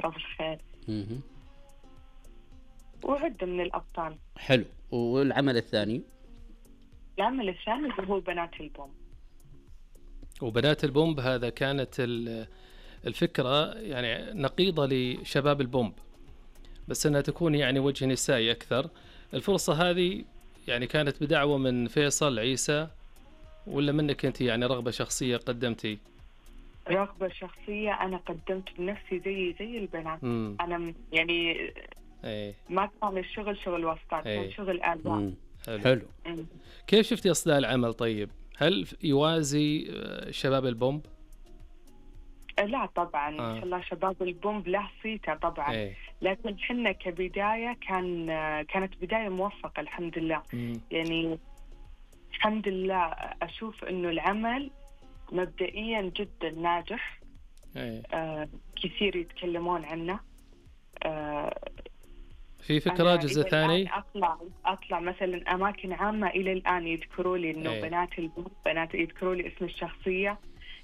فترة بالخير. مهم. وعدة من الأبطال. حلو. والعمل الثاني؟ العمل الثاني هو بنات البوم. وبنات البومب هذا كانت الفكرة يعني نقيضة لشباب البومب، بس أنها تكون يعني وجه نسائي أكثر. الفرصة هذه يعني كانت بدعوة من فيصل عيسى ولا منك أنت يعني رغبة شخصية قدمتي؟ رغبة شخصية، أنا قدمت بنفسي زي البنات. أنا يعني ما كان الشغل شغل واسطات، كان شغل آباء. حلو. كيف شفتي أصداء العمل طيب؟ هل يوازي شباب البومب؟ لا طبعا إن شاء الله شباب البومب له صيته طبعا. لكن حنا كبداية كانت بداية موفقة الحمد لله. يعني الحمد لله أشوف إنه العمل مبدئيا جدا ناجح. كثير يتكلمون عنه. في فكرة جزء ثاني أطلع مثلا أماكن عامة إلى الآن يذكروا لي إنه بنات البومب، بنات يذكروا لي اسم الشخصية.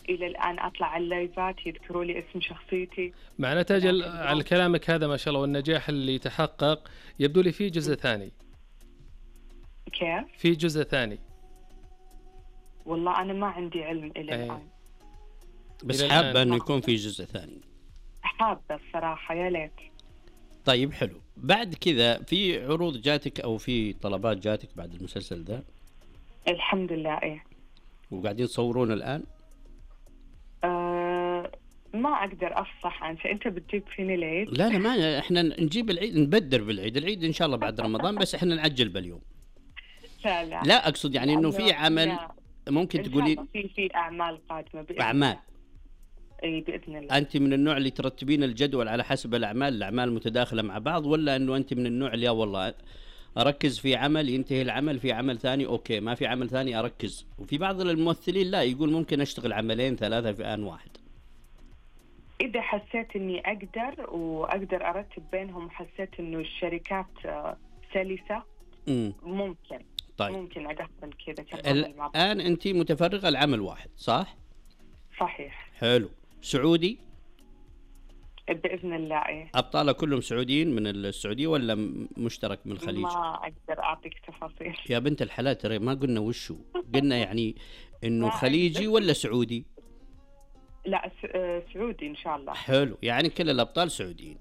إلى الآن أطلع على اللايفات يذكروا لي اسم شخصيتي. مع نتاج على كلامك هذا ما شاء الله والنجاح اللي تحقق يبدو لي فيه جزء ثاني. كيف؟ في جزء ثاني؟ والله أنا ما عندي علم إلى الآن. بس حابة أنه يكون في جزء ثاني. حابة الصراحة يا ليت. طيب حلو. بعد كذا في عروض جاتك أو في طلبات جاتك بعد المسلسل ده؟ الحمد لله. وقاعدين تصورون الآن؟ ما أقدر أفصح عن شيء. أنت بتجيب فيني العيد؟ لا ما إحنا نجيب العيد، نبدر بالعيد. العيد إن شاء الله بعد رمضان، بس إحنا نعجل باليوم. لا أقصد يعني إنه في عمل ممكن تقولين في أعمال قادمة بإذن أعمال. أي بإذن الله. أنت من النوع اللي ترتبين الجدول على حسب الأعمال متداخلة مع بعض، ولا إنه أنت من النوع اللي والله أركز في عمل ينتهي العمل، في عمل ثاني أوكي، ما في عمل ثاني أركز؟ وفي بعض الممثلين لا، يقول ممكن أشتغل عملين ثلاثة في آن واحد. إذا حسيت إني أقدر أرتب بينهم، حسيت إنه الشركات سلسة ممكن. طيب. ممكن أدخل كذا. الآن أنت متفرغة لعمل واحد صح؟ صحيح. حلو. سعودي؟ بإذن الله. أبطاله كلهم سعوديين من السعودية ولا مشترك من الخليج؟ ما أقدر أعطيك تفاصيل يا بنت الحلال، ترى ما قلنا وشو، قلنا يعني إنه خليجي ولا سعودي؟ لا سعودي إن شاء الله. حلو، يعني كل الأبطال سعوديين.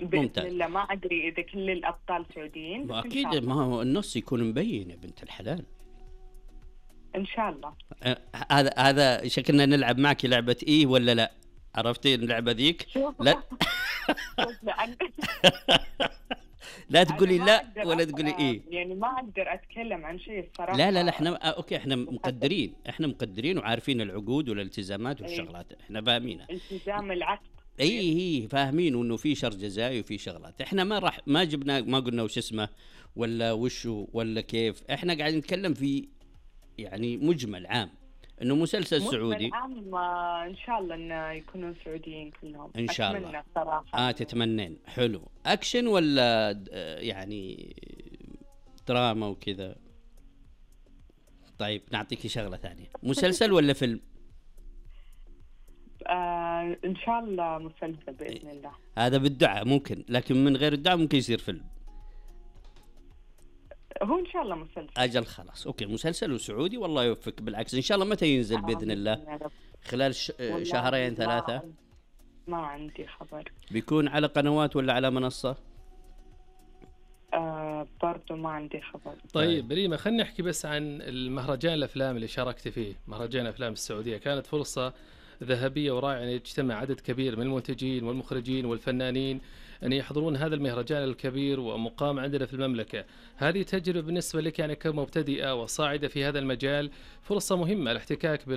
بإذن الله. ما أدري إذا كل الأبطال سعوديين. أكيد ما هو النص يكون مبين يا بنت الحلال. إن شاء الله. هذا شكلنا نلعب معك لعبة إيه ولا لا؟ عرفتي اللعبة ذيك؟ لا لا تقولي لا ولا تقولي إيه. يعني ما أقدر أتكلم عن شيء الصراحة. لا إحنا أوكي، إحنا مقدرين وعارفين العقود والالتزامات والشغلات. إحنا فاهمينها. التزام العقد. اي فاهمين انه في شر جزائي وفي شغلات. احنا ما جبنا ما قلنا وش اسمه ولا وشو ولا كيف. احنا قاعدين نتكلم في يعني مجمل عام انه مسلسل سعودي. عام ان شاء الله انه يكونوا سعوديين كلهم ان شاء الله. صراحة. تتمنين. حلو. اكشن ولا يعني دراما وكذا؟ طيب نعطيكي شغلة ثانية، مسلسل ولا فيلم؟ إن شاء الله مسلسل بإذن الله. هذا بالدعاء ممكن، لكن من غير الدعاء ممكن يصير فيلم. هو إن شاء الله مسلسل. أجل خلاص أوكي، مسلسل وسعودي. والله يوفقك. بالعكس إن شاء الله. متى ينزل بإذن الله؟ خلال شهرين ثلاثة؟ ما عندي خبر. بيكون على قنوات ولا على منصة؟ برضو ما عندي خبر. طيب ريما، خلينا نحكي بس عن المهرجان الأفلام اللي شاركت فيه، مهرجان أفلام السعودية. كانت فرصة ذهبية ورائعة أن يجتمع عدد كبير من المنتجين والمخرجين والفنانين أن يحضرون هذا المهرجان الكبير ومقام عندنا في المملكة. هذه تجربة بالنسبة لك يعني كمبتدئة وصاعدة في هذا المجال، فرصة مهمة الاحتكاك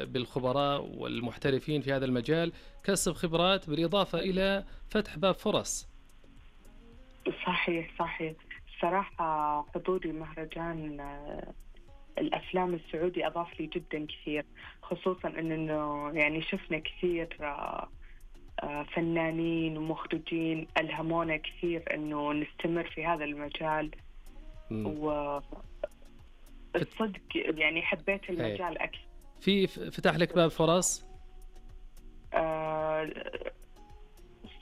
بالخبراء والمحترفين في هذا المجال، كسب خبرات بالإضافة إلى فتح باب فرص. صحيح. صراحة حضوري مهرجان الأفلام السعودي أضاف لي جدا كثير، خصوصا أنه يعني شفنا كثير فنانين ومخرجين ألهمونا كثير أنه نستمر في هذا المجال. والصدق يعني حبيت المجال أكثر. في فتح لك باب فرص؟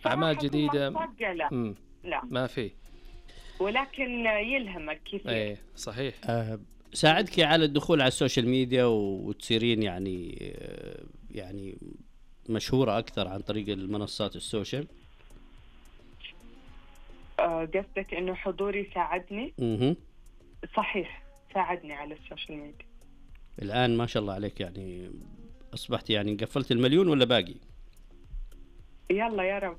أعمال جديدة لا. لا ما في، ولكن يلهمك كثير. ايه صحيح. ساعدك على الدخول على السوشيال ميديا وتصيرين يعني مشهورة أكثر عن طريق المنصات السوشيال. قصدك إنه حضوري ساعدني؟ صحيح، ساعدني على السوشيال ميديا. الآن ما شاء الله عليك، يعني أصبحت يعني قفلت المليون ولا باقي؟ يلا يا رب.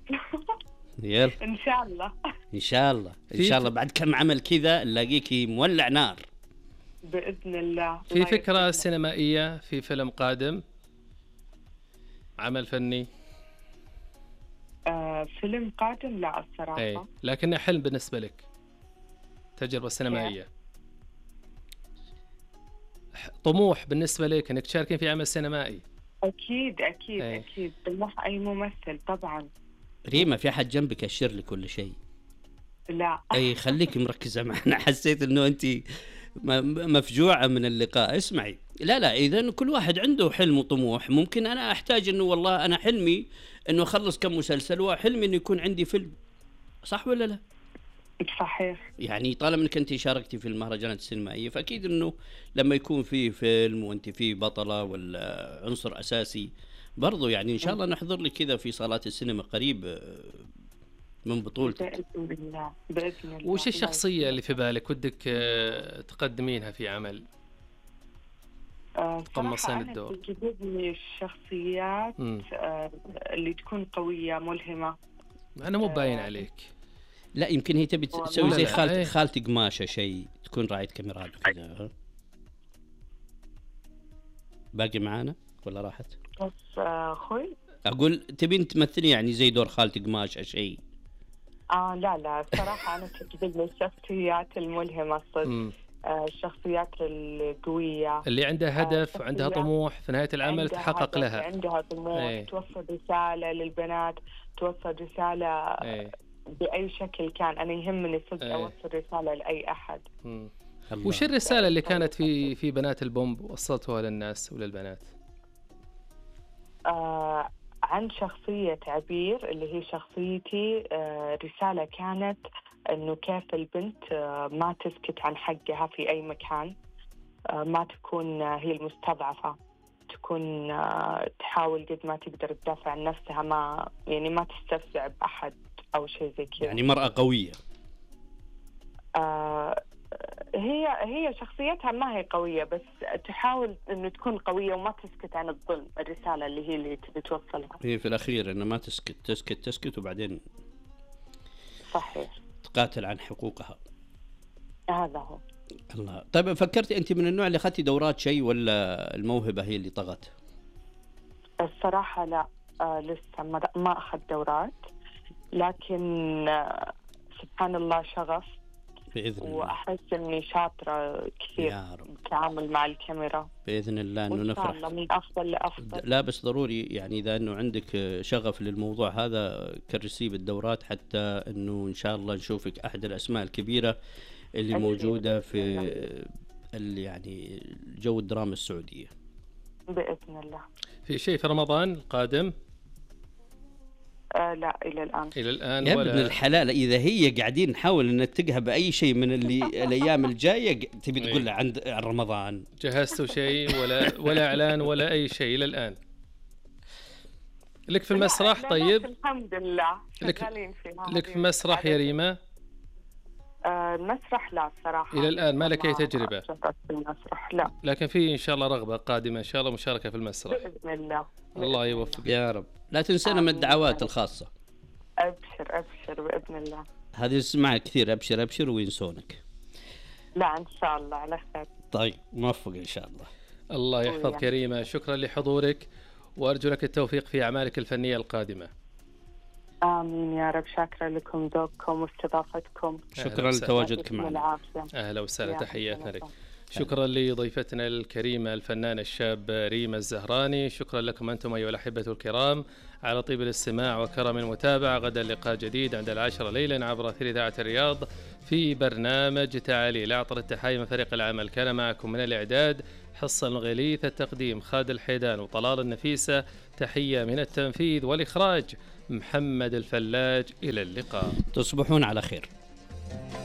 يلا إن شاء الله. إن شاء الله إن شاء الله بعد كم عمل كذا نلاقيكي مولع نار بإذن الله. في فكرة سينمائية في فيلم قادم، عمل فني؟ فيلم قادم لا الصراحة. ايه لكنه حلم بالنسبة لك، تجربة سينمائية، طموح بالنسبة لك انك تشاركين في عمل سينمائي. اكيد اكيد اكيد، طموح اي ممثل طبعا. ريما في احد جنبك اشر لي كل شيء؟ لا اي خليك مركزة معنا، حسيت انه انت مفجوعة من اللقاء. اسمعي، لا اذا كل واحد عنده حلم وطموح. ممكن انا احتاج انه والله انا حلمي انه اخلص كم مسلسل، وحلمي انه يكون عندي فيلم، صح ولا لا؟ صحيح. يعني طالما انك انت شاركتي في المهرجانات السينمائية، فاكيد انه لما يكون في فيلم وانت فيه بطلة ولا عنصر اساسي برضو، يعني ان شاء الله نحضر لك كذا في صالات السينما قريب من بطولتك. بإذن الله بإذن الله. وش الشخصية اللي في بالك ودك تقدمينها في عمل؟ صراحة أنا تجذبني الشخصيات اللي تكون قوية ملهمة. أنا مو باين عليك. لا يمكن هي تبي تسوي زي خالتي قماشة، شيء تكون راعية كاميرات وكذا. باقي معانا ولا راحت؟ بس أخوي أقول تبين تمثلي يعني زي دور خالتي قماشة شيء؟ لا صراحة أنا تجذبني الشخصيات الملهمة الصدق. الشخصيات القوية اللي عندها هدف وعندها طموح في نهاية العمل تحقق لها، عندها طموح توصل رسالة للبنات، توصل رسالة بأي شكل كان. أنا يهمني صدق أوصل رسالة لأي أحد. وش الرسالة اللي كانت في بنات البومب وصلتوها للناس وللبنات؟ عن شخصية عبير اللي هي شخصيتي، رسالة كانت إنه كيف البنت ما تسكت عن حقها في أي مكان، ما تكون هي المستضعفة، تكون تحاول قد ما تقدر تدافع عن نفسها، ما تستفزع بأحد أو شيء زي كذا. يعني مرأة قوية. هي شخصيتها ما هي قوية، بس تحاول إنه تكون قوية وما تسكت عن الظلم. الرسالة اللي تبي توصلها هي في الأخير إنه ما تسكت وبعدين صحيح تقاتل عن حقوقها. هذا هو. الله. طيب فكرتي أنت من النوع اللي أخذتي دورات شيء، ولا الموهبة هي اللي طغت؟ الصراحة لا، لسه ما أخذ دورات، لكن سبحان الله شغف بإذن الله، وأحس إني شاطرة كثير بالتعامل مع الكاميرا بإذن الله، إنه نفرح إن شاء الله من أفضل لأفضل. لا بس ضروري يعني إذا إنه عندك شغف للموضوع هذا كرسي بالدورات، حتى إنه إن شاء الله نشوفك أحد الأسماء الكبيرة اللي موجودة في يعني جو الدراما السعودية بإذن الله. في شيء في رمضان القادم؟ لا إلى الآن يا ابن الحلال، إذا هي قاعدين نحاول ننتقها بأي شيء من الأيام الجاية تبي تقول له عن رمضان. جهزتوا شيء ولا إعلان ولا أي شيء إلى الآن؟ لك في المسرح؟ طيب الحمد لله شغالين فيها. لك في المسرح يا ريما؟ المسرح لا صراحة إلى الآن ما لك أي تجربة في المسرح، لا. لكن في إن شاء الله رغبة قادمة إن شاء الله مشاركة في المسرح بإذن الله. الله يوفق يا رب. لا تنسينا من الدعوات الخاصة. أبشر بإذن الله. هذه اسمعها كثير، أبشر وينسونك. لا إن شاء الله على خير. طيب موفق إن شاء الله. الله يحفظ كريمة، شكرا لحضورك وأرجو لك التوفيق في أعمالك الفنية القادمة. آمين يا رب. شاكرة لكم ذوقكم واستضافتكم. شكرا لتواجدك معنا. أهلا وسهلا، تحياتنا لك. شكرا لضيفتنا الكريمة الفنانة الشاب ريما الزهراني. شكرا لكم أنتم أيها الأحبة الكرام على طيب الاستماع وكرم المتابعة. غدا لقاء جديد عند 10 ليلا عبر أثير إذاعة الرياض في برنامج تعالي. أعطر التحايا من فريق العمل، كان معكم من الإعداد حصة الغليث، التقديم خالد الحيدان وطلال النفيسة، تحية من التنفيذ والإخراج محمد الفلاج. إلى اللقاء، تصبحون على خير.